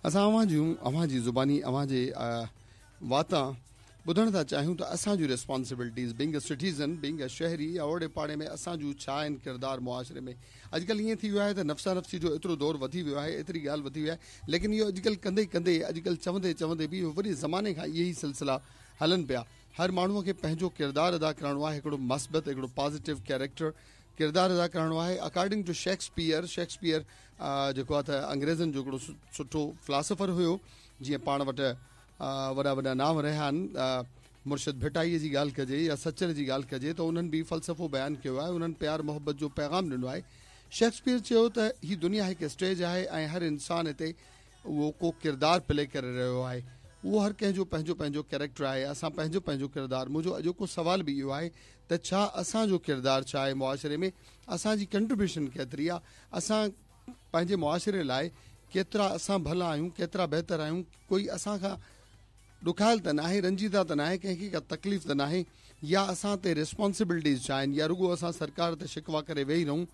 اسان اوهان جون اوهان جي زباني اوهان جي واتان ٻڌڻ ٿا چاهيون ته اسان جون responsibilities being a citizen being a شهري يا اوڙي پاڙي ۾ اسان جون ڇا آهن ڪردار معاشري ۾ اڄڪلهه ائين ٿي ويو آهي ته نفسا نفسي جو ايترو دور وڌي ويو آهي ايتري ڳالهه وڌي وئي آهي ليڪن اهو اڄڪلهه ڪندي ڪندي اڄڪلهه چوندي چوندي به اهو وڏي زماني کان اهي ئي سلسلا هلن پيا هر ماڻهو کي پنهنجو ڪردار ادا ڪرڻو آهي هڪڙو مثبت هڪڙو پازيٽو ڪيريڪٽر ڪردار ادا ڪرڻو آهي اڪارڊنگ ٽو شيڪسپيئر شيڪسپيئر جيڪو آهي ته انگريزن جو هڪڙو سٺو فلاسفر هيو جيئن پاڻ وٽ وڏا وڏا نانء رهيا آهن مرشد ڀٽائيء جي ڳالهه ڪجي يا سچل جي ڳالهه ڪجي ته انهن به فلسفو بيان ڪيو آهي انهن پيار محبت جو پيغام ڏنو آهي شيڪسپيئر چيو ته هي دنيا هڪ اسٽيج آهي ۽ هر انسان هتي اهو ڪو ڪردار پلي ڪري رهيو آهي اهو هر ڪنهن جو پنهنجو پنهنجو ڪيريڪٽر آهي اسان پنهنجو پنهنجو ڪردار منهنجو اڄوڪو سوال به اهو آهي ته ڇا اسان جو ڪردار ڇا آهي معاشري ۾ اسان جي ڪنٽريبيوشن ڪيتري آهي اسان پنهنجي معاشري لاء ڪيترا اسان ڀلا آهيون ڪيترا بهتر آهيون ڪوئي اسان کان ڏکايل ته ناهي رنجيده ته ناهي ڪنهن کي ڪا تڪليف ته ناهي يا اسان تي ريسپانسبلٽيز ڇا آهن يا رڳو اسان سرڪار تي شڪوا ڪري ويهي رهون.